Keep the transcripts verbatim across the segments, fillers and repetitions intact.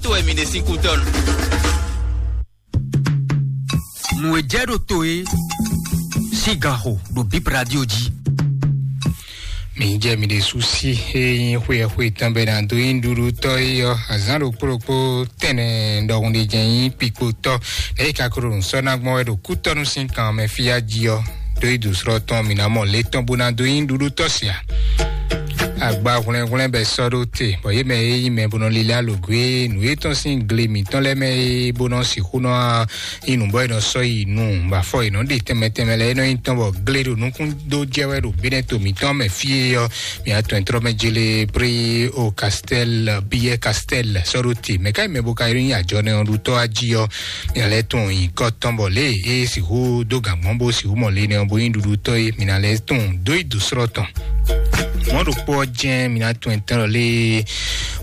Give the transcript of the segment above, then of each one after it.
To wɛ mi ɖe sín kútɔ́ nu. Nǔ e jɛ ɖo to e sín ganxo ɖo Bip Radio jí. Mi jɛ mi ɖe susi e nyí xwe xwe tɔn bɛ na dó nyí ɖuɖu tɔ yi ɔ azán ɖokpó ɖokpó tɛnɛ ɖɔhun ɖe jɛ nyí pikpo tɔ. Eye kakoro nǔ sɔ ná gbɔn wɛ ɖo kútɔnu sín kan mɛ fíyá jí ɔ dó yi dǒsrɔ́ tɔn mi ná mɔ lě tɔn bó ná dó nyí ɖuɖu tɔ sia. Agba hwlɛnhwlɛn bɛ sɔ́ ɖó te bɔ yě mɛ e nyí mɛ bó nɔ lílá lǒgó e nǔ e tɔn sín gle mǐtɔn lɛ́ɛ mɛ e bó nɔ sixú nɔ nyí nǔ bɔ è nɔ sɔ́ yi nu bɔ afɔ è nɔ ɖe tɛnmɛ tɛnmɛ lɛ́ɛ é nɔ nyí tɔn bɔ gle ɖo nukún dó jɛ wɛ ɖo Benɛto mǐtɔn mɛ fí e ɔ. Mǐ atɔn trɔ́ mɛ jele pré o Castel, Biyɛ Castel sɔ́ ɖó te mɛ ká nyí mɛ bó ka nyí ajɔ nɛ ɔ́ ɖutɔ́ ají ɔ. Mǐ lɛ́ tún nyǐkɔ tɔn bɔ lě e é sixú dó gǎn gbɔn bó sixú mɔ le nɛ ɔ́ bó nyí ɖuɖutɔ́ é mǐ ná lɛ́ tún dó yi dǒsrɔ́ tɔn. Mɔ̌ ɖokpó ɔ́ jɛ́n mǐ ná tún ɛntɛ́ lɔ lé.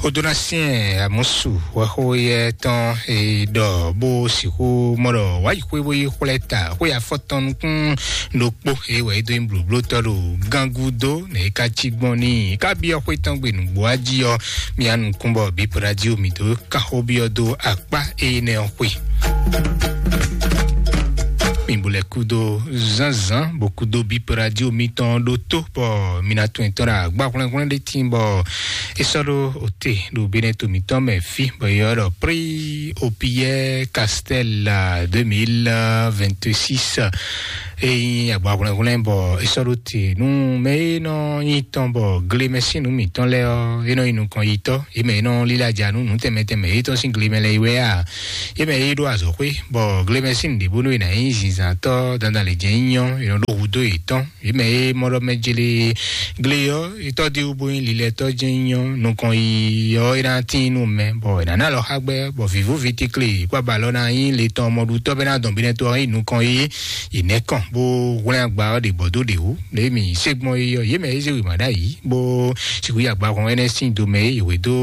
Odonasien Amusu wɛxó yɛ tɔn e ɖɔ bó sixú mɔ ɖɔ wǎ yi xwé bó yi xwlɛ́ ta xwé afɔtɔn nukún ɖokpó e wɛ é dó nyí blǒblótɔ́ ɖo gángudo nɛ é ka cí gbɔn n'i é ka byɔ́ xwé tɔn gbe nǔgbó ají ɔ́. Mia nukún bɔ Bip Radio mǐ dó kanxó byɔ́ dó akpá énɛ́ ɔ́ xwe. Mi bo lɛ kúdó zánzán bó kúdó Bip Radio mitɔn ɖó tó bɔ mi ná tún ɛtɔn ɖo agba hwlɛ́nhwlɛ́n ɖé tín bɔ é sɔ́ ɖó òte ɖo Benɛto mǐtɔn mɛ fí bɔ yɔ ɖɔ Prix au Pierre Castel deux mille vingt-six. E nyí agba hwlɛ́nhwlɛ́n bɔ é sɔ́ ɖó te nú mɛ e nɔ nyí tɔn bɔ glemɛsín nǔ mǐtɔn lɛ́ɛ ɔ́ é nɔ nyí nukɔn yitɔ́. Yě mɛ e nɔ lílá ja nú nǔ tɛnmɛ tɛnmɛ yětɔn sín glemɛ lɛ́ɛ yi wɛ a? Yě mɛ e ɖó azɔ̌xwé bɔ glemɛsín ɖěbúnú e ná nyí zinzǎntɔ́ dandan lě jɛ́n nyí ɔ́, è nɔ ɖó hudó yětɔn. Yě mɛ e mɔ ɖɔ mɛ jele gle ɔ́, etɔ́ ɖé wú bó nyí lilɛtɔ́ jɛ́n nyí ɔ́, nukɔn yi ɔ́ é ná tín nú mɛ bɔ è nǎ ná lɔ xá gbɛ́ bɔ vǐvú vítíklé kpó abalɔ ná nyí le tɔn mɔɖutɔ́ bɛ́ ná dɔn binɛ tó ɔ́ nyí nukɔn yi. Yě nɛ́ kɔn bó hwlɛ́n agba ɔ́ ɖě bɔ dó ɖě wú. Lě mǐ sé gbɔn yi ɔ́, yě mɛ e zé wěma ɖ'ayǐ bó sixú yi agba hɔn énɛ́ sín do mɛ e yě hwedó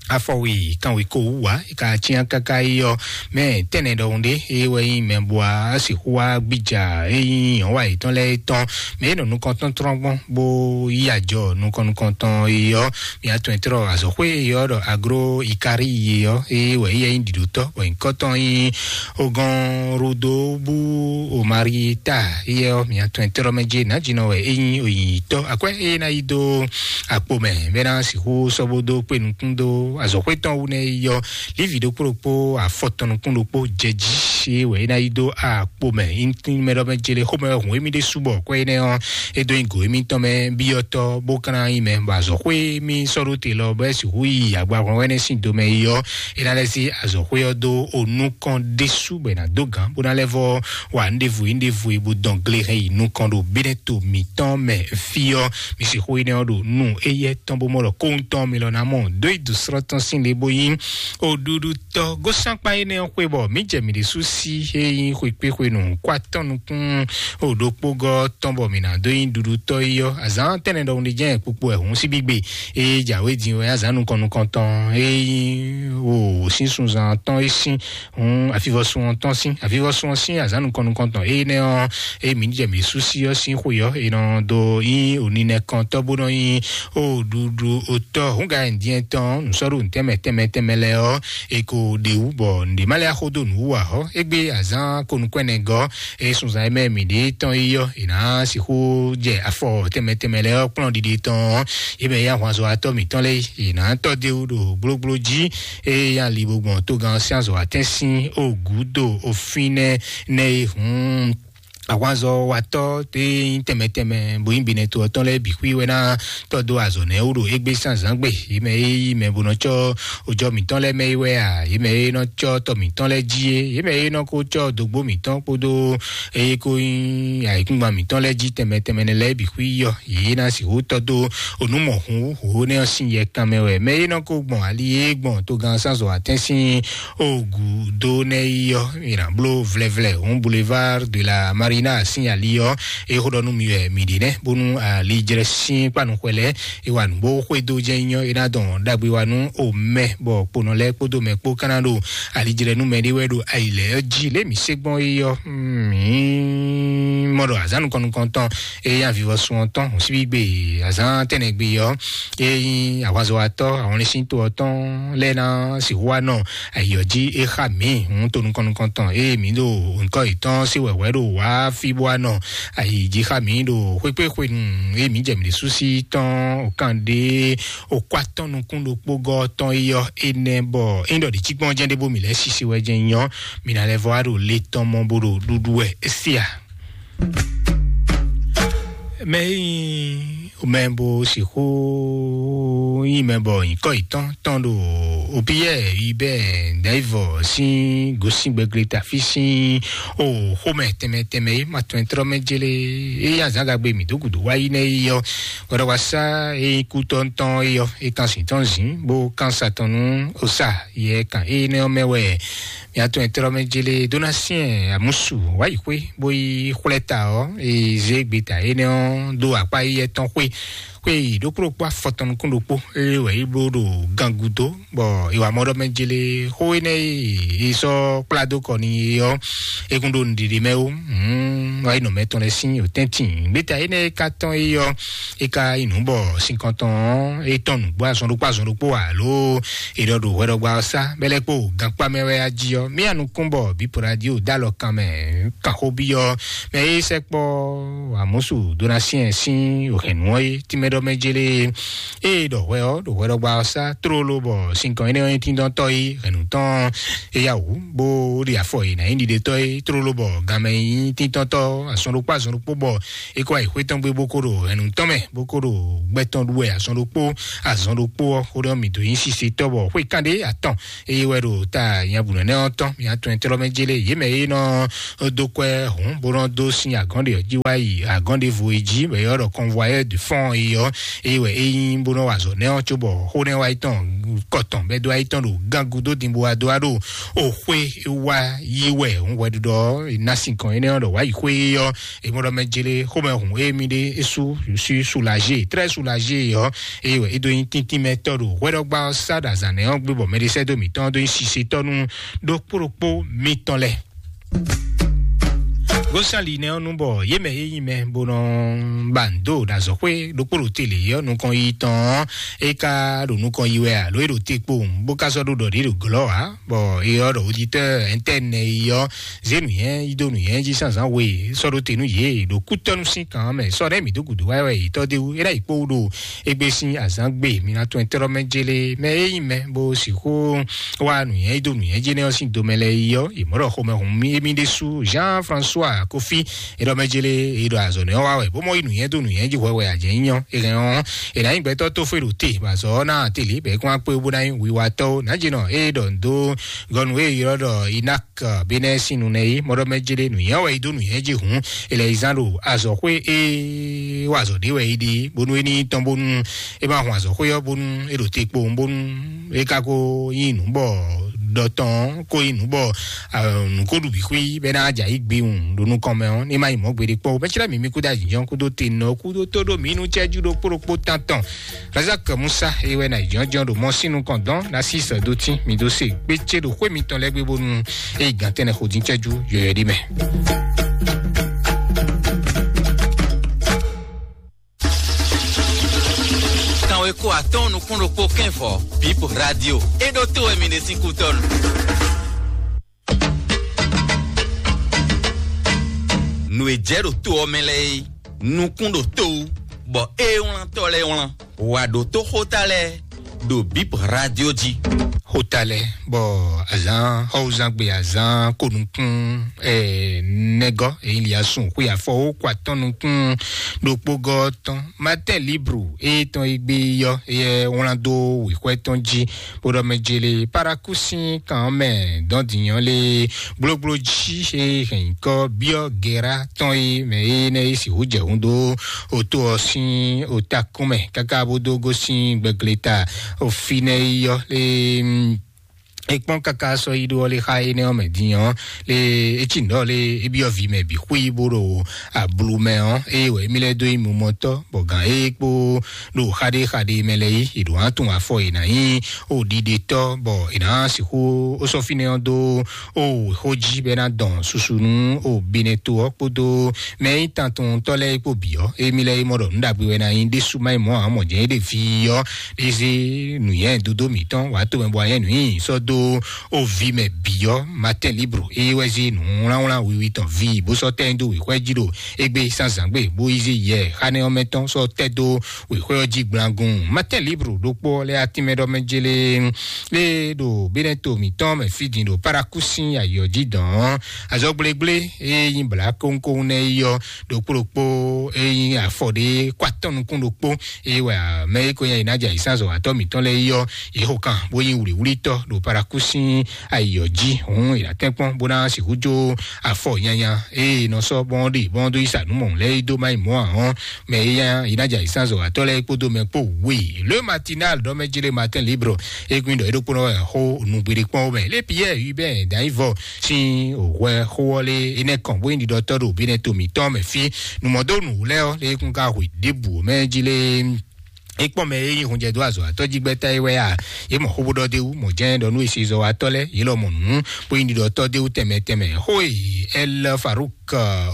afɔwi kanweko wú wá e ka cyán káká yi ɔ́, mɛ tɛnɛ ɖɔhun ɖé e wɛ nyí mɛ bua sixú wá gbija e nyí nyɔ̌wa yětɔn lɛ́ɛ tɔn mɛ e nɔ nukɔntɔn tlɔ́n gbɔn bó yí ajɔ nukɔn nukɔntɔn yi ɔ́. Mia tɔn trɔ azɔxwé yi ɔ́ ɖɔ agro ikari yi ɔ́ e wɛ yi nyí ɖiɖotɔ bɔ nyǐkɔtɔn nyí ogɔn rodo bú omari ta yi ɔ́. Mia tɔn trɔ mɛ jɛ nǎjínɔ wɛ e nyí oyǐnyítɔ akwɛ́ e ná yi dó akpo mɛ bɛ ná sixú sɔ́ bó dó kpé nukún dó azɔ̌xwé tɔn wú nɛ́ yi ɔ́. Lívi ɖokpó ɖokpó afɔ tɔn nukún ɖokpó jɛ jí é wɛ é ná yi dó akpo mɛ. Mɛ ɖɔ mɛ jele xomɛ hun émí ɖésú bɔ kwɛ énɛ́ ɔ́ é dó nyi gǒ émítɔn mɛ byɔ́tɔ́ bó ka ná nyí mɛ bɔ azɔ̌xwé émí sɔ́ ɖó te lɔ bɔ é sixú yi agbahwɛn wɛ́nɛ́ sín domɛ yi ɔ́. É ná lɛ́ sí azɔ̌xwé ɔ́ dó onú kɔn ɖésú bɔ è nǎ dó gǎn bó ná lɛ́ vɔ wa nɖěvo yi nɖěvo yi bó dɔn gle hɛn yi nukɔn ɖo bínɛ́ to mǐtɔn mɛ fí ɔ́. Mi sixú yi nɛ ɔ́ ɖo nú éyɛ́ tɔn bó mɔ ɖɔ kóhun tɔn mi lɔ ná mɔ dó yi dǒsrɔ́ tɔn sín le bó nyí oɖuɖu tɔ gosín akpa énɛ́ ɔ́ xwé bɔ mǐ jɛ mǐ ɖésú sí é nyí xwekpé xwenu kó atɔ́ nukún o ɖokpógɔ́ tɔn bɔ mǐ ná dó nyí ɖuɖutɔ́ yi ɔ́. Azǎn tɛnɛ ɖɔhun ɖé jɛ́n kpukpu wɛ hǔn síbígbe é jǎwe din wɛ azǎn nukɔn nukɔntɔn é nyí o sín sunzan tɔn é sín hun avivɔsun ɔ́ tɔn sín avivɔsun ɔ́ sín azǎn nukɔn nukɔntɔn énɛ́ ɔ́. Eye mǐ jɛ mǐ sú sí ɔ́ sín xwe ɔ́, è nɔ dó nyí oninɛkɔntɔ́ bó nɔ nyí oɖuɖu otɔ́ húnga ɛndiɛn tɔn nǔsɔ́ɖu tɛnmɛ tɛnmɛ tɛnmɛ lɛ́ɛ ɔ́. È ko ɖe wú bɔ nǔɖé má lɛ́ axó dó nǔ wú ǎ ɔ́, égbé azǎn konukúɛnɛgɔ́ e sunzan e mɛ mǐ ɖe tɔn yi ɔ́, è nǎ sixú jɛ afɔ tɛnmɛ tɛnmɛ lɛ́ɛ ɔ́ kplɔ́n ɖiɖe tɔn ɔ́. Yě mɛ yí ahwanzɔ́watɔ́ mǐtɔn lɛ́ɛ yě nǎ tɔ́ dó ɖo gblógbló jí. Eye ali bo gbɔn togán sín azɔ̌ atɛ́n sín ògǔdo òfin nɛ nɛ e hǔn ahwanzɔ́watɔ́ tɛ nyí tɛnmɛ tɛnmɛ bó nyí binɛto ɔ́ tɔn lɛ́ɛ bǐ xwí wɛ ná tɔ́ dó azɔ̌ nɛ́ wú ɖo égbé sín azǎn gbe. Yě mɛ e yí mɛ bó nɔ cɔ́ òjɔ mǐtɔn lɛ́ɛ mɛ é wɛ a? Yě mɛ e nɔ cɔ́ tɔ mǐtɔn lɛ́ɛ jí é? Yě mɛ e nɔ ko cɔ́ dǒgbó mǐtɔn kpódó eye ko nyí ayǐkúngban mǐtɔn lɛ́ɛ jí tɛnmɛ tɛnmɛ nɛ lɛ́ɛ bǐ xwí yɔ. Yě ná sixú tɔ́ dó onú mɔ̌hun wú hǒ nɛ́ ɔ́ sín yɛ kan mɛ wɛ. Mɛ e nɔ ko gbɔn ali e gbɔn togán sánzɔ atɛ́n sín ogu dó nɛ́ yi ɔ́, mi ná bló vlɛvlɛ hǔn Boulevard de la Marina sín ali ɔ́. É xó ɖɔ nú mi wɛ mi ɖe nɛ́ bónú alijlɛ sín kpanu xwɛ lɛ́ɛ é wa nǔ bó xwedó jɛ nyɔ é ná dɔn ɖagbe wa nú omɛ bɔ kponɔ lɛ́ɛ kpódó mɛ kpó ká ná ɖo alijlɛ nú mɛ ɖé wɛ ɖo ayi lɛ́ɛ ɔ́ jí lě mi sé gbɔn é yɔ. Mm. Mɔ ɖɔ azǎn nukɔn nukɔntɔn, eye avivɔsun ɔ́ tɔn hǔn síbí gbe, azǎn tɛnɛgbe ɔ́, eye ahwanzɔwatɔ́ ahwanlɛ́síntɔ ɔ́ tɔn lɛ́ɛ ná sixú wá nɔ ayǐ ɔ́ jí é xá mǐ hǔn to nukɔn nukɔntɔn, eye mǐ ɖo nukɔn yětɔn se wɛ̌wɛ́ ɖo wá fí bó wá nɔ ayǐ jí xá mǐ ɖo xwékpé xwenu, eye mǐ jɛ mǐ ɖésú sí tɔn okan ɖé okó atɔ́n nukún ɖokpó gɔ́ tɔn é yɔ énɛ́ bɔ é nyí ɖɔ ɖě cikpɔ́n jɛ́n ɖé bó mǐ lɛ́ sisi wɛ jɛ́n nyɔ́, mǐ ná lɛ́ vɔ wá ɖo le tɔn mɔ bó ɖo ɖuɖu wɛ é se a? Mɛ e nyí mɛ bo sixú nyí mɛ bɔ nyǐkɔ yětɔn tɔn ɖo opiyɛ yibɛ dɛ̌vɔ sín gosín gbɛgbléta fí sín o xomɛ tɛnmɛ tɛnmɛ é ma tɔn trɔ́ mɛ jélé é nyí azǎngagbe mǐ dó gǔdo wá yi nɛ́ yi ɔ́, hwɛɖɔwasá e nyí kútɔ́ tɔn é ɔ́ é kan sǐn tɔn zǐn bó kan sa tɔn nú osa yɛ kan énɛ́ ɔ́ mɛ wɛ. Mia tɔn e tlɔ́ mɛ jele dó ná syɛ́n amúsu wá yi xwé bó yi xwlɛ́ ta ɔ́, e zé gbeta énɛ́ ɔ́ dó akpá éyɛ́ tɔn xwé xwé yi ɖokpó ɖokpó afɔ tɔn nukún ɖokpó, ée wɛ é bló ɖo gan gúdo, bɔ è wǎ mɔ ɖɔ mɛ jele xó énɛ́ e è sɔ́ kplá dó kɔ n'i é ɔ́, é kún ɖo nǔɖiɖi mɛ ó. Wá yi nɔ mɛ tɔn lɛ́ɛ sín òtɛ́ntin. Gbeta énɛ́ e ka tɔn é ɔ́, é ka yi nǔ bɔ sinkɔn tɔn ɔ́, é tɔn nǔgbó azɔn ɖokpó azɔn ɖokpó alo è ɖɔ ɖo hwɛɖɔgba ɔ́ sá bɛlɛ kpó gankpá mɛ wɛ a jí ɔ́, mí anukún bɔ bípo radio dó alɔ kan mɛ kan xó byɔ́ mɛ e sɛkpɔ amúsu dó ná syɛ́n sín hɛ̌nnu ɔ́ é tínmɛ ɖɔ mɛ jélé. Ée ɖɔ hwɛ ɔ́ ɖo hwɛɖɔgba ɔ́ sá tlóló bɔ sinkɔn énɛ́ ɔ́ nyí tíndɔ́ntɔ́ é hɛ̌nnu tɔn é yá wǔ bó ɖi afɔ è nǎ nyí ɖiɖetɔ́ é tlóló bɔ ganmɛ nyí tíntɔ́ntɔ́ azɔn ɖokpó azɔn ɖokpó bɔ é kó wá yi xwé tɔn gbé bó kó ɖo hɛ̌nnu tɔn mɛ bó kó ɖo gbɛ tɔn ɖu wɛ azɔn ɖokpó azɔn ɖokpó ɔ́ xó ɖɔ mǐ dó nyí sisetɔ́ bɔ xwé kanɖé atɔn eye wɛ ɖo ta nyabǔnɔ nɛ́ ɔ́ tɔn mǐ atɔn tlɔ́ mɛ jélé yě mɛ e nɔ dó kwɛ́ hǔn bó nɔ dó sín agɔ̌n ɖě ɔ́ jí wá yi agɔ̌n ɖěvo e jí bɔ è ylɔ́ ɖɔ convoyeur de fond é ɔ́ eye wɛ é nyí bó nɔ wa azɔ̌ nɛ́ ɔ́ cóbɔ xó nɛ́ wá yi tɔn kɔtɔn bɛ́ dó wá yi tɔn ɖo gángu dó din bó wá dó wá ɖo o xwé wá yi wɛ hǔn hwɛɖuɖɔ ɔ́ è ná sinkɔn énɛ́ ɔ́ ɖɔ wá yi xwé ɔ́ è mɔ ɖɔ mɛ jélé xomɛ hǔn émi ɖé é sú sú soulagé très soulagé ɔ́ eye wɛ é dó nyí tíntín mɛ tɔ́ ɖo hwɛɖɔgba ɔ́ sá ɖo azǎn nɛ́ ɔ́ gbé bɔ mɛɖisɛ́dó mǐtɔn ɔ́ dó nyí sisetɔ́ nú ɖokpó ɖokpó mitɔn lɛ́ɛ. Gosali nɛ ɔ́ nu bɔ yě mɛ e nyí mɛ bó nɔ ba nǔ dó ɖo azɔ̌xwé ɖokpó ɖo te lě ɔ́ nukɔn yi tɔn ɔ́, é ka ɖo nukɔn yi wɛ alo é ɖo te kpowun bó ka sɔ́ ɖó ɖɔ ɖě ɖo glɔ́ ǎ, bɔ é ɔ́ ɖɔ oditɔ́ ɛntɛ́nɛ yi ɔ́ zé nǔnywɛ́ yi dó nǔnywɛ́ jí zǎnzǎn we sɔ́ ɖó te nú yě ɖo kútɔ́nú sín kan ɔ́ mɛ sɔ́ ɖɛ́ mǐ dó gǔdo wá wɛ yě tɔ́ d'é wú é ná yi kpó wú ɖo égbé sín azǎn gbe mi ná tɔn tlɔ́ mɛ jélé mɛ e nyí mɛ bó sixú wá nǔnywɛ́ yi dó nǔnywɛ́ jɛ́nɛ́ ɔ́ sín domɛ lɛ́ɛ yi ɔ́, yě mɔ ɖɔ xomɛhunhun émí ɖésú Jean François Kofi é ɖɔ mɛ jélé é ɖɔ azɔ̌ nɛ́ ɔ́ wá wɛ bó mɔ yi nǔnywɛ́ dó nǔnywɛ́ jí hwɛ wɛ a jɛ nyí nyɔ́ é hɛn ɔ́, è nǎ nyí gbɛtɔ́ tó fó e ɖo te bɔ azɔ̌ ɔ́ ná télé bɔ é kún wá kpé bó ná nyí wiwatɔ́ ó. Nǎjínɔ é ɖɔ nǔ dó gɔnu e ylɔ́ ɖɔ Inak Benɛ́ sín nu nɛ́ é mɔ ɖɔ mɛ jélé nǔnywɛ́ wɛ yi dó nǔnywɛ́ jí hǔn è lɛ yi zán ɖo azɔ̌xwé e wɔ azɔ̌ ɖé wɛ é ɖe bónú é ní tɔn bónú é ma hun azɔ̌xwé ɔ́ bónú é ɖo te kpowun bónú é ka ko nyí nǔ bɔ ɖɔ tɔn ko nyí nǔ bɔ nǔ ko ɖu bǐ xwí bɔ é ná jɛ ayǐ gbiwun ɖo nukɔn mɛ ɔ́ ní ma nyí mɔ̌ gbeɖé kpɔ́n o. Mɛ̌ clɛ́ mǐ mì kúdó ayǐjɔ́n kúdó te nɔ kúdó tó ɖó mǐ nú cɛ́jú ɖokpó ɖokpó tán tɔn. Razak Musa e wɛ na yi jɔnjɔn ɖo mɔ sín nukɔn dɔn na sí sɔ dó tín mǐ dó se gbécé ɖo xwé mitɔn lɛ́ɛ gbé bónú é yi gǎn tɛ́nnɛ xo dín cɛ́jú yɔyɔ ɖé mɛ. Kanwe kó atɔ́ɔ́n nukún ɖokpó kɛ́nvɔ Bip Radio é ɖó tó wɛ mi ɖe sín kútɔ́nu. Nǔ e jɛ ɖo to ɔ́ mɛ lɛ́ɛ é, nukún ɖo to wú, bɔ é wlántɔ́ lɛ́ɛ wlán. Wǎ ɖótó xóta lɛ́ɛ ɖo Bip Radio jí. Xóta lɛ́ɛ bɔ azǎn xɔwúzangbe azǎn konukún ɛ nɛgɔ́ èyí li asún xwé afɔ ó kó atɔ́n nukún ɖokpó gɔ́ tɔn Matin Libre e tɔn e gbé yɔ e wlán dó wěxwɛ tɔn jí bó ɖɔ mɛ jele paraku sín kan ɔ́ mɛ dɔn dǐnyɔ́ lé gblogblo jí e hɛn nyǐkɔ byɔ́ gɛ̌rá tɔn e mɛ e nɛ e sixú jɛ hun dó oto ɔ́ sín otakún mɛ káká bó dó gosín gbɛgleta ofinɛ yi ɔ́ lé. Ekpɔn kaka sɔ yi ɖó ɔ́ lé xa énɛ́ ɔ́ mɛ din ɔ́ lé etí nǔ ɔ́ lé ebyɔ́ vi mɛ bǐ xwí bó ɖo ablu mɛ ɔ́ eye wɛ émí lɛ́ dó yi mumɔtɔ́ bɔ gǎn é kpó ɖo xaɖé xaɖé mɛ lɛ́ɛ yi è ɖǒ ná tunwun afɔ è nǎ nyí o ɖiɖe tɔ́ bɔ è nǎ sixú ó sɔ́ fínɛ́ ɔ́ dó ó wěxó jí bɔ é ná dɔn susu nú ó binɛto ɔ́ kpódó mɛ e nyí tantɔntɔ́ lɛ́ɛ kpó bǐ ɔ́. Émí lɛ́ɛ é mɔ ɖɔ nǔ ɖagbe wɛ ná nyí ɖésú má nyí mɔ̌ ǎ, mɔ jɛ́n é ɖe fí ɔ́. É zé nǔnywɛ́ dodó mǐtɔn wǎ to mɛ bɔ anyɛ́ nǔ nyi sɔ́ dó ó vi mɛ bǐ ɔ́. Matin Libre é wɛ zé nǔ wlánwlán wiwi tɔn vi bó sɔ́ tɛ́ nyi dó wěxwɛ́ jí ɖo égbé zǎnzǎngbe bó yi zé yɛ xánɛ́ ɔ́ mɛ tɔn sɔ́ tɛ́ dó wěxwɛ́ ɔ́ jí gblangun. Matin Libre ɖokpó ɔ́ lɛ́ atínmɛ ɖɔ mɛ jélé lé ɖo bínɛ́ to mǐtɔn mɛ fí din ɖo Paraku sín ayǐ ɔ́ jí dɔn ɔ́. Azɔgblégblé e nyí blǎ kónkón nɛ́ yi ɔ́ ɖokpó ɖokpó e nyí afɔ ɖé kó atɔ́ nukún ɖokpó e wɛ mɛ e ko nyí ayǐnájà yǐsánzɔ́watɔ́ mǐtɔn lɛ́ɛ yi ɔ́, yě xo kan bó nyí wlǐwlítɔ́ ɖo Paraku sín ayǐ ɔ́ jí. Hǔn è nǎ tɛ́nkpɔ́n bó ná sixú jó afɔ nyanya e è nɔ sɔ́ bɔ́n ɖe bɔ́n dó yi sa nǔ mɔ̌ lɛ́ɛ yi dó má yi mɔ̌ ǎ ɔ́, mɛ e nyí ayǐnájà yǐsánzɔ́watɔ́ lɛ́ɛ kpódó mɛ kpó wěi. Le Matinal ɖɔ mɛ jlé Matin Libre egun ɖɔ é ɖokpónɔ wɛ xó nǔgbéɖé kpɔ́n mɛ. Lé Pierre Hubert Danyivɔ sín hwɛ xó ɔ́ lé énɛ́ kɔn bó nyí ɖiɖɔtɔ́ ɖo bínɛ́ to mǐtɔn mɛ fí. Nǔmɔdónú lɛ́ɛ ɔ́ lé kún ka hwe ɖěbǔ mɛ jí lé é kpɔ́n mɛ e nyí hunjɛ dó azɔ̌ atɔ́ jí gbɛ́ta é wɛ a? Yě mɔ xó bó ɖɔ d'é wú, mɔ jɛ́n ɖɔ nú esezɔ́watɔ́ lɛ́ɛ yě lɔ mɔ nǔ bó nyí ɖiɖɔtɔ́ d'é wú tɛnmɛ tɛnmɛ. Xó e Ɛl Faruk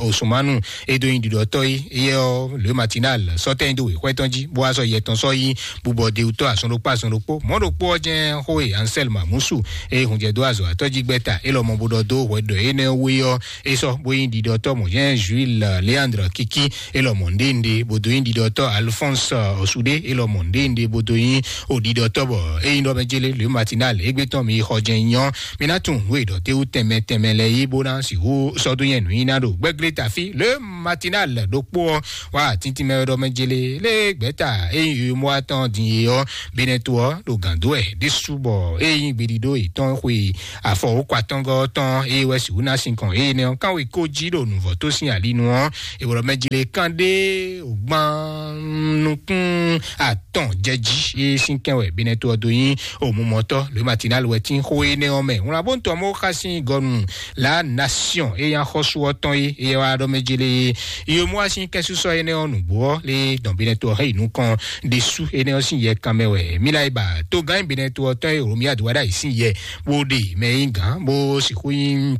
Osumanu e dó nyí ɖiɖɔtɔ́ é, éyɛ́ ɔ́ Le Matinal sɔ́ tɛ́ nyi dó wěxwɛ́ tɔn jí bó wá sɔ́ yɛ tɔn sɔ́ yí bubɔ d'é wú tɔ́ azɔn ɖokpó azɔn ɖokpó. Mɔ̌ ɖokpó ɔ́ jɛ́n xó e Ansɛl Mamusu e hunjɛ dó azɔ̌ atɔ́ jí gbɛ́ta é lɔ mɔ bó ɖɔ dó hwɛ ɖɔ énɛ́ wú é ɔ́, é sɔ́ bó nyí ɖiɖɔtɔ́ mɔ̌ jɛ́n Juil Leandre Kiki é lɔ mɔ nɖénɖé bó dó nyí ɖiɖɔtɔ́ Alphonse Osude é lɔ mɔ nɖénɖé bó dó nyí o ɖiɖɔtɔ́ bɔ é nyí ɖɔ mɛ jélé Le Matinal égbé tɔn mi xɔ jɛ́n nyɔ́. Mi ná tunwun nǔ e ɖɔ té wú tɛnmɛ tɛnmɛ lɛ́ɛ yí bó ná sixú sɔ́ dó nyɛ nǔnyiná ɖo gbɛ́glé tafí Le Matinal ɖokpó ɔ́ wá tíntín mɛ ɖɔ mɛ jélé lé gbɛ́ta é nyí yomɔ atɔn din é ɔ́. Bínɛ́ to ɔ́ ɖo gǎn dó wɛ ɖésú bɔ é nyí gbeɖiɖó yětɔn xwe afɔ wǒ kɔ atɔ́ngɔ́ tɔn é wɛ sixú ná sinkɔn énɛ́ ɔ́ kánwe kó jí ɖo nǔvɔ́ tó sín ali nu ɔ́. È wlɔ mɛ jlé kán ɖé gban nukún atɔn jɛ jí é sín kɛn wɛ bínɛ́ to ɔ́ dó nyí omumɔtɔ́ Le Matinal wɛ tín xó énɛ́ ɔ́ mɛ. Wlán bó ń tɔ mɔ xá sín gɔnu La Nation é nyí axɔ́sú ɔ́ tɔn é é wá ɖɔ mɛ jlé yomɔ asín kɛ́súsɔ énɛ́ ɔ́ nǔgbó ɔ́ lé dɔn bínɛ́ to ɔ́ hɛn yi nukɔn ɖésú énɛ́ ɔ́ sín yɛ kanmɛ wɛ mǐ la yi ba tó gán bínɛ́ to ɔ́ tɔn e Romia do wá ɖ'ayǐ sín yɛ bó ɖe mɛ e nyí gǎn bó sixú nyí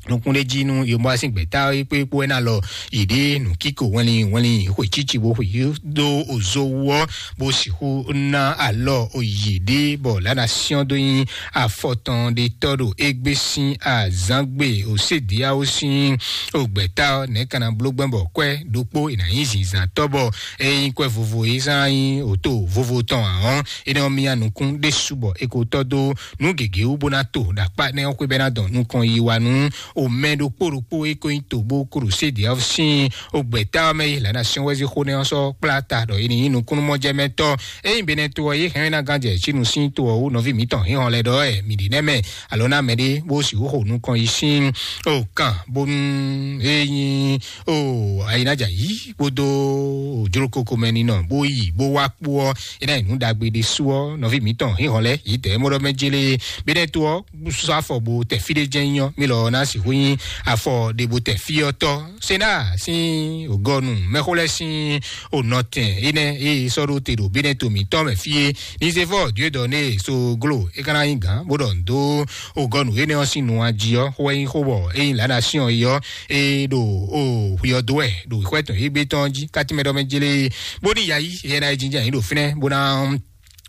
nukúnɖéjí nú yomɔ asín gbɛ̌ta é kpé kpó ɛ́ ná lɔ yě ɖe nǔkíko wɛnlin wɛnlin xwe cíci bó xwe dó ozo wú ɔ́ bó sixú ná alɔ yě ɖe bɔ lǎnà syɔ́n dó nyí afɔtɔn ɖe tɔ́ ɖo égbé sín azǎngbe òsédéáwó sín ògbɛ̌ta ɔ́ nɛ̌ ka ná bló gbɛ́ bɔ kwɛ́ ɖokpó è nǎ nyí zǐnzǎntɔ́ bɔ é nyí kwɛ́ vovo é zán nyí òto vovo tɔn ǎ ɔ́, énɛ́ ɔ́ myá nukún ɖésú bɔ é ko tɔ́ dó nǔ gěgé wú bó ná to ɖo akpá énɛ́ ɔ́ xwé bɔ é ná dɔn nukɔn yi wa nú omɛ ɖokpó ɖokpó e ko nyí togbo Krusedi ɔ́ sín ogbɛ̌ta ɔ́ mɛ yi lǎnà syɔ́n wɛ́zí xó nɛ́ ɔ́ sɔ́ kplá ta ɖɔ é ní nyí nukúnnú-mɔjɛmɛtɔ́. Ényí Benɛto ɔ́ yě hɛn ná gán jɛ Cínu sín to ɔ́ wú nɔví mǐtɔn hínhɔn lɛ́ɛ ɖɔ wɛ mǐ ɖi nɛ́ mɛ alo ná mɛɖé bó sixú xo nukɔn yi sín o kan bónú é nyí o ayinaja yí kpódó jlókoko mɛ ninɔ bó yi bó wá kpó ɔ́ é ná nyí nǔ ɖagbe ɖésú ɔ́ nɔví mǐtɔn hínhɔn lɛ́ɛ yě dɛ̌ mɔ ɖɔ mɛ jélé Benɛto ɔ́ sɔ́ afɔ bo tɛ fí ɖé jɛ́n nyí ɔ́, mí lɔ ná sixú nyí afɔ ɖe bo tɛ fí ɔ́ tɔ́. Sena sín ògɔnu mɛxó lɛ́ɛ sín ònɔtɛn énɛ́ e sɔ́ ɖó te ɖo Benɛto mǐtɔn mɛ fí é. Ní zé fɔ Dieu donné so glo é ka ná nyí gǎn bó ɖɔ nǔ dó ògɔnu énɛ́ ɔ́ sín nu ají ɔ́, xó wɛ nyí xó bɔ é nyí lǎ ná syɔ́n é ɔ́, é ɖo o xwi ɔ́ dó wɛ ɖo xwɛ tɔn égbé tɔn jí kátí mɛ ɖɔ mɛ jélé bó ní yayi yɛ ná yi jínjɛ́n yǐ ɖo fínɛ́ bó ná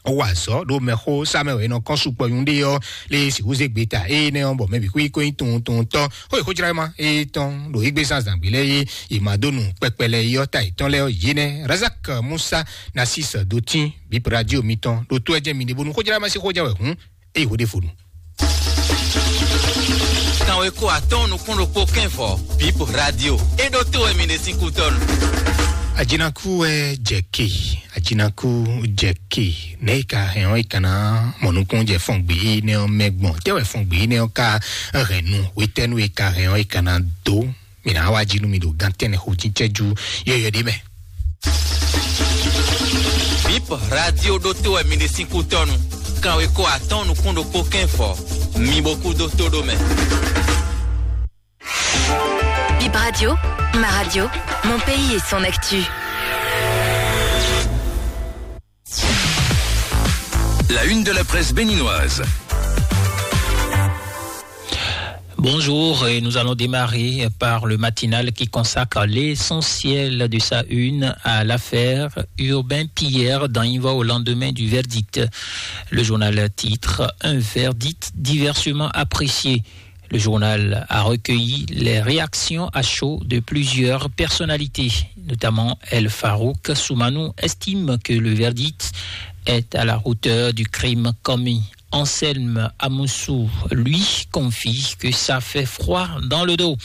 wɔ azɔ̌ ɖo mɛxó sá mɛ wɛ è nɔ kɔn sukpɔ nyuɖé ɔ́ lé sixú zé gbeta énɛ́ ɔ́ bɔ mɛ bǐ xwí kó nyí tunwun tunwun tɔ́ xó è xó jlá ma é tɔn ɖo égbé zán zǎngbé lɛ́ɛ é è ma dó nu kpɛkpɛ lɛ́ɛ é ɔ́ ta yětɔn lɛ́ɛ ɔ́ yě nɛ́ Razak Musa Nasis Dotín bíp radio mitɔn ɖo tó ɛ jẹ́ mi ɖe bónú xó jlá ma sí xó jɛ wɛ hǔn é yi xó ɖé fonu. Kanweko atɔ́ɔ́n nukún ɖokpó kɛ́nvɔ bíp radio é ɖó tó wɛ mi ɖe sín kútɔ́nu. Ajinaku wɛ jɛ ke, ajinaku jɛ ke, nɛ yi ka hɛn ɔ́ yi ka ná mɔ nukún jɛ fɔn gbé yi nɛ ɔ́ mɛ gbɔn tɛ wɛ fɔn gbé yi nɛ ɔ́ ka hɛn nu wetɛnu yi ka hɛn ɔ́ yi ka ná dó mi ná wá jí nú mi ɖo gán tɛnɛ xo jíjɛ ju yɔyɔ ɖé mɛ. Bíp radio ɖó tó wɛ mi ɖe sín kútɔ́nu. Kanweko atɔ́ɔ́n nukún ɖokpó kɛ́nvɔ mi bo kú dó tó ɖó mɛ. Bip Radio, ma radio, mon pays et son actu. La une de la presse béninoise. Bonjour, et nous allons démarrer par le matinal qui consacre l'essentiel de sa une à l'affaire Urbain Pierre dans Invo au lendemain du verdict. Le journal titre: Un verdict diversement apprécié. Le journal a recueilli les réactions à chaud de plusieurs personnalités, notamment El Farouk Soumanou estime que le verdict est à la hauteur du crime commis. Anselme Amoussou, lui, confie que ça fait froid dans le dos.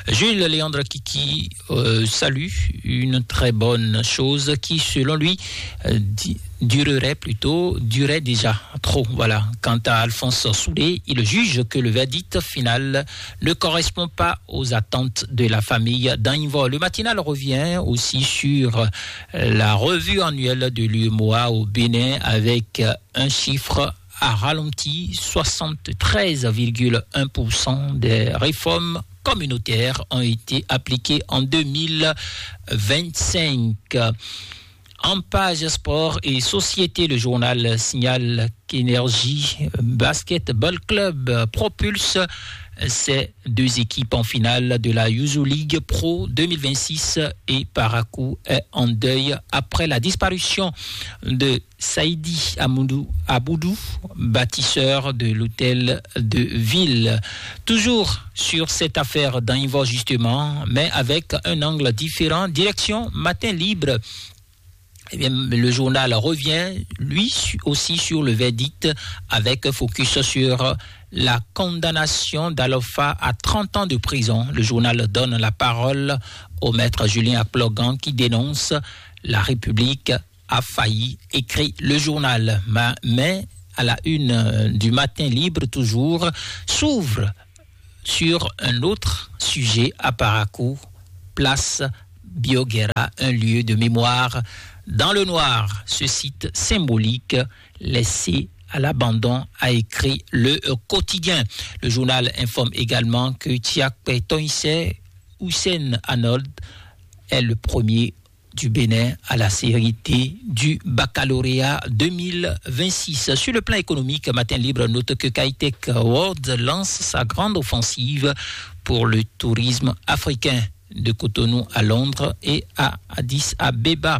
Jules Léandre Kiki euh, salue une très bonne chose qui, selon lui, euh, di- durerait plutôt, durait déjà trop. Voilà. Quant à Alphonse Soudé, il juge que le verdict final ne correspond pas aux attentes de la famille Dainvo. Le matinal revient aussi sur la revue annuelle de l'U M O A au Bénin avec un chiffre a ralenti. Soixante-treize virgule un pour cent des réformes communautaires ont été appliquées en deux mille vingt-cinq. En page sport et société, le journal signale qu'Énergie Basketball Club propulse ces deux équipes en finale de la Yuzu League Pro deux mille vingt-six et Parakou est en deuil après la disparition de Saïdi Amoudou Aboudou, bâtisseur de l'hôtel de ville. Toujours sur cette affaire d'Anivor justement, mais avec un angle différent, direction Matin Libre. Eh bien, le journal revient, lui aussi, sur le verdict avec focus sur la condamnation d'Alofa à trente ans de prison. Le journal donne la parole au maître Julien Aplogan qui dénonce la République a failli, écrit le journal. Ma- Mais à la une euh, du Matin Libre toujours, s'ouvre sur un autre sujet à Parakou, place Bioguerra, un lieu de mémoire dans le noir. Ce site symbolique laissé à l'abandon, a écrit le quotidien. Le journal informe également que Tiakpé Toïsé Hussein Arnold est le premier du Bénin à la série D du baccalauréat deux mille vingt-six. Sur le plan économique, Matin Libre note que Kitech World lance sa grande offensive pour le tourisme africain, de Cotonou à Londres et à Addis Abeba.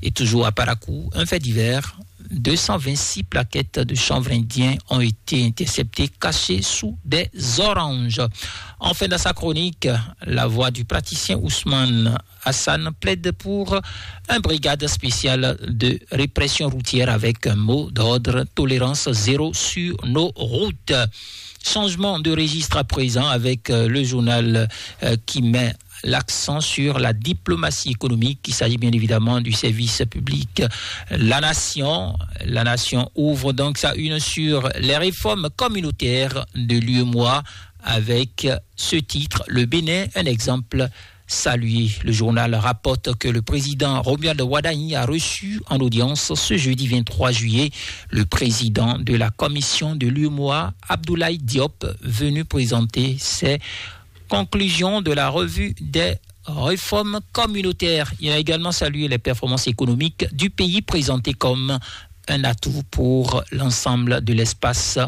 Et toujours à Parakou, un fait divers: deux cent vingt-six plaquettes de chanvre indien ont été interceptées, cachées sous des oranges. Enfin, dans sa chronique, la voix du praticien Ousmane Hassan plaide pour une brigade spéciale de répression routière avec un mot d'ordre: tolérance zéro sur nos routes. Changement de registre à présent avec euh, le journal euh, qui met l'accent sur la diplomatie économique. Il s'agit bien évidemment du service public. La Nation, la Nation ouvre donc sa une sur les réformes communautaires de l'U M O A avec ce titre: Le Bénin, un exemple salué. Le journal rapporte que le président Romuald Wadagni a reçu en audience ce jeudi vingt-trois juillet le président de la commission de l'U M O A, Abdoulaye Diop, venu présenter ses conclusions de la revue des réformes communautaires. Il a également salué les performances économiques du pays présentées comme un atout pour l'ensemble de l'espace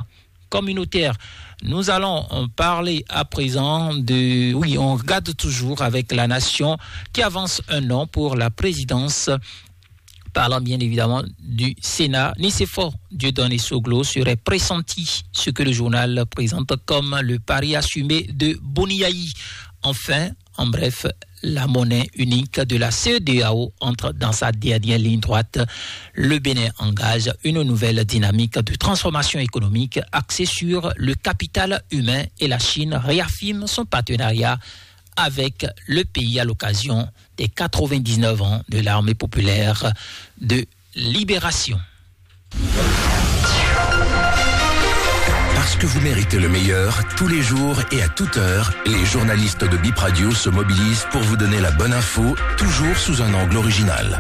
communautaire. Nous allons euh, parler à présent de... Oui, on regarde toujours avec la Nation qui avance un nom pour la présidence. Parlant bien évidemment du Sénat, Nicéphore Dieudonné Soglo serait pressenti, ce que le journal présente comme le pari assumé de Boniaï. Enfin, en bref, la monnaie unique de la C E D E A O entre dans sa dernière ligne droite. Le Bénin engage une nouvelle dynamique de transformation économique axée sur le capital humain et la Chine réaffirme son partenariat avec le pays à l'occasion des quatre-vingt-dix-neuf ans de l'armée populaire de libération. Parce que vous méritez le meilleur, tous les jours et à toute heure, les journalistes de Bip Radio se mobilisent pour vous donner la bonne info, toujours sous un angle original.